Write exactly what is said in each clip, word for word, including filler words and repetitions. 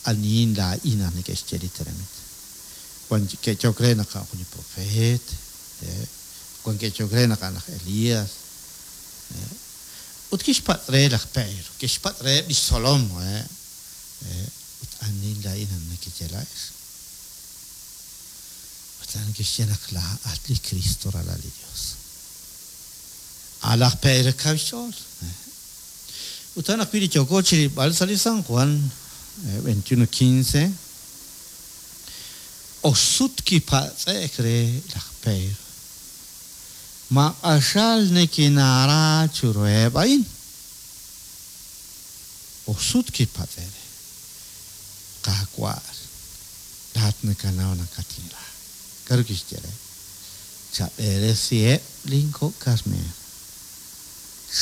anihin laa'in naq neke'xye li tenamit. Wan ke'yehok re naq a'an jun li profeet, wan ke'yehok re naq a'an laj Elías. Ut kixpatz' re laj Pedro, kixpatz' reheb' lix tzolom, ut anihin laa'in naq nekeye laa'ex. Ut a'an kixye naq laa'at li Cristo ralal li Dios. A laj Pedro kaw xch'ool. Ut a'an ajwi' li yooko chi rilb'al sa' li San Juan veintiuno quince, oxsut kipatz'e'k re laj Pedro, ma q'axal nikinaara chiruheb' a'in. Oxsut kipatz'e' re. Qaawa', laa'at nakanaw nakatinra. K'aru kixye re? Chab'eresiheb' lin kok' karneer.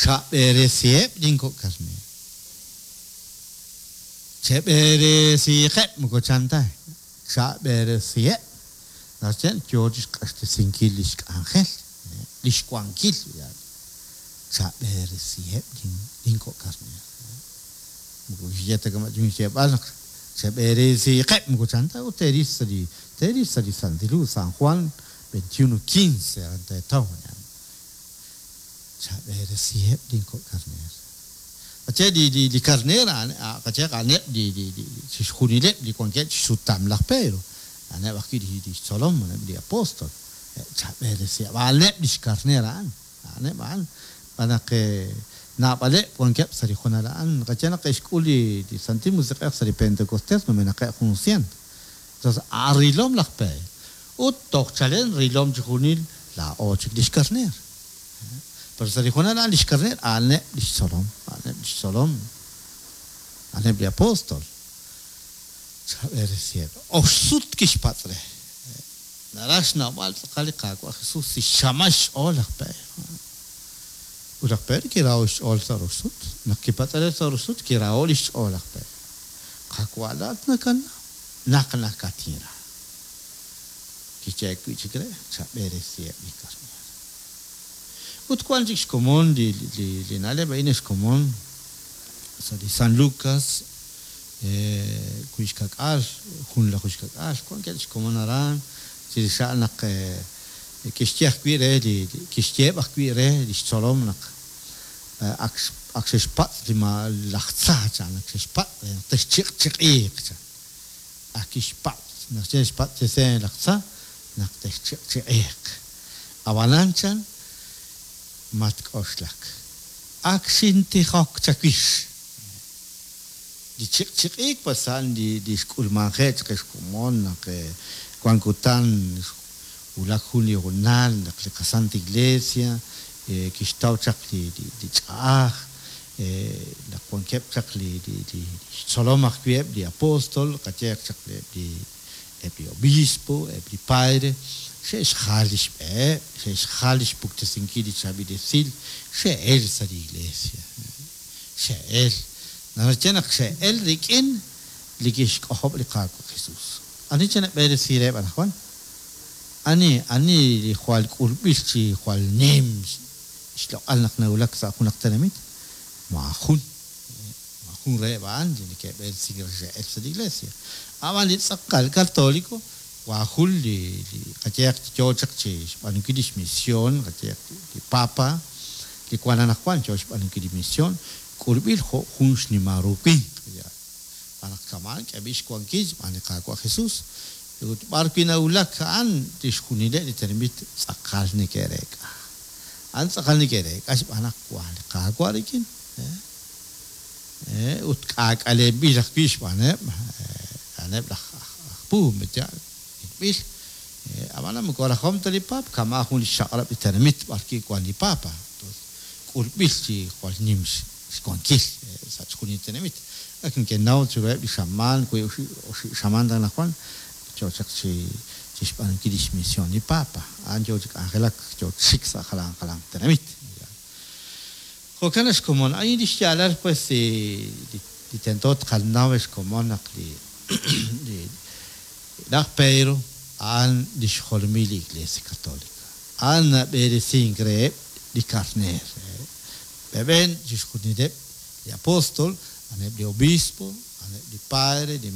Chab'eresiheb' lin kok' karneer. Cheb'eresiiqeb' moko chan ta. Chab'eresiheb'. Naxye yo chi xq'axtesinkil lix k'anjel, lix wankil. Chab'eresiheb' lin kok' karneer. Moko kixye ta kama' xyeeb'al naq cheb'eresiiqeb' moko chan ta ut teeril sa' li teeril sa' li Santil Hu San Juan veintiuno quince aran teetaw. Chab'eresiheb' lin kok' karneer. Qache li li li karneer a'an qache a'aneb' li li li chixjunileb' li wankeb' chixsutam laj Pedro. A'aneb' ajwi' li li xtzolom, a'aneb' li apóstol. Chab'eresiheb' a'aneb' lix karneer a'an. A'aneb' a'an. Xb'aan naq naab'aleb' wankeb' sa' li hoonal a'an. Qache naq ke'xk'ul li li Santil Musiq'ej sa' li Pentecostés numenaqeb' jun cien. Entonces a'an rilom laj Pedro. Ut toj chalen rilom chi junil laa'o chik lix karneer. Pero sa' li hoonal a'an lix karneer a'aneb' lix tzolom, a'aneb' lix tzolom, a'aneb' li apóstol. Chab'eresiheb'. Oxsut kixpatz' re. Naraj xnawb'al tz'aqal li Qaawa' Jesús si xchamal xch'ool laj Pedro. Ut laj Pedro kiraho' xch'ool sa' roxsut. Naq kipatz'e re sa' roxsut kiraho' lix ch'ool laj Pedro. Qaawa' laa'at nakanaw naq nakatinra. Kixye wi' chik re chab'eresiheb' li karneer. Ut wan chik xkomon li li li na'leb' a'in xkomon sa' li San Lucas wiib' xka'k'aal, junlaju xka'k'aal, wankeb' xkomon aran chirix a'an naq kixye ajwi' re li kixyeheb' ajwi' re lix tzolom naq ak ak xe'xpatz' li ma laj tza chan ak xe'xpatz' re naq texchiq'chiq'iiq chan. Ak kixpatz' naq xe'xpatz' chese laj tza naq texchiq'chiq'iiq. Ab'anan chan matk'oxlak. Ak xintijok chawix. Li chiq'chiq'iik pues a'an li li xk'ulmanje' chaq xkomon naq wan kutan wulak jun li hoonal naq li qaSanta Iglesia kixtaw chaq li li ch'a'aj naq wankeb' chaq li li li xtzolom ajwi' eb' li apóstol qayeeq chaq eb' li eb' li obispo, eb' li padre xe'xjal lix b'eheb', xe'xjal lix puktesinkil li chaab'il esil, xe'el sa' li iglesia. Xe'el. Naxye naq xe'el rik'in li kixk'ojob' li Qaawa' Jesús. Ani chanab'eresi reheb' anaqwan? Ani ani li jwal k'ulb'il chi jwal nim xloq'al naq nawulak sa' junaq tenamit? Maajun. Maajun reheb' a'an li neke'b'eresink re xe'el sa' li iglesia. Ab'an li tz'aqal católico waajun li li qayeeq yo chaq chi xb'aanunkil lix misión, qayeeq li papa li wan anaqwan yo xb'aanunkil li misión, k'ulb'il jo' jun xnimal ru winq. Xb'aan naq kama'an k'eeb'il xwankil xb'aan li Qaawa' Jesús. Ut b'ar wi' nawulak a'an tixjunileb' li tenamit tz'aqal neke'reek'a. A'an tz'aqal neke'reek'a xb'aan naq wan li Qaawa' rik'in. Ut k'aak'alenb'il ajwi' xb'aaneb' a'aneb' laj aj puub' yaal ilb'il. Ab'an moko rajom ta li papa kama' jun li xchaq'rab' li tenamit b'ar wi' wan li papa. K'ulb'il chi jwal nim xwankil sa' chixjunil tenamit. Ak neke'naw chiruheb' li xamaan, wiib' oxib' xamaan ta anaqwan yo chaq chi chi xb'aanunkil lix misión li papa. A'an yo chi k'anjelak yo chik sa' jalan jalan tenamit. Jo'kan xkomon a'in li xyaalal pues li li tento tqanaw xkomon naq li li laj Pedro a'an li xjolomil li Iglesia Católica. A'an nab'eresink reheb' li karneer. Beben chixjunileb' li apóstol, a'aneb' li obispo, a'aneb' li padre, li